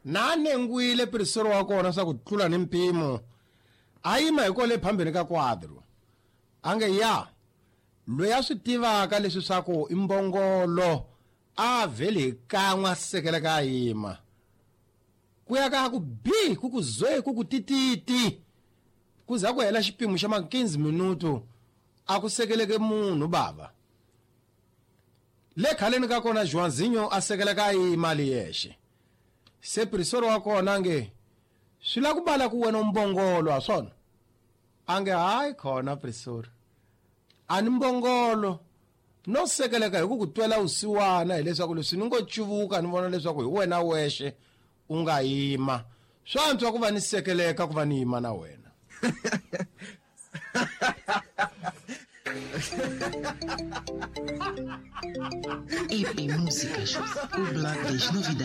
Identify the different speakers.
Speaker 1: Na nengwile pirisori wa kona swa ku tlula ni mpimo. A yima hi kole phambeni ka quadro. A nge ya loyi a swi tivaka leswi swa ku i mbongolo a vhele hi kan'we a sekeleka a yima. Ku ya ka ku bi ku ku zwe ku ku tititi. Ku za ku hela xipimo xa ma 15 minuto a ku sekeleke munhu bava. Le khaleni ka kona Joãozinho a sekeleka a yima ali yexe. Se pirisori wa kona nge swi la ku bala ku wena mbongolo ha swona. A nge hayi khona pirisori. A ni mbongolo no sekeleka hi ku ku twela vusiwana hileswaku leswi ni ngo cuvuka ni vona leswaku hi wena wexe u nga yima. Swa antswa ku va ni sekeleka ku va ni yima na wena.
Speaker 2: EP Músicas, o blog das novidades.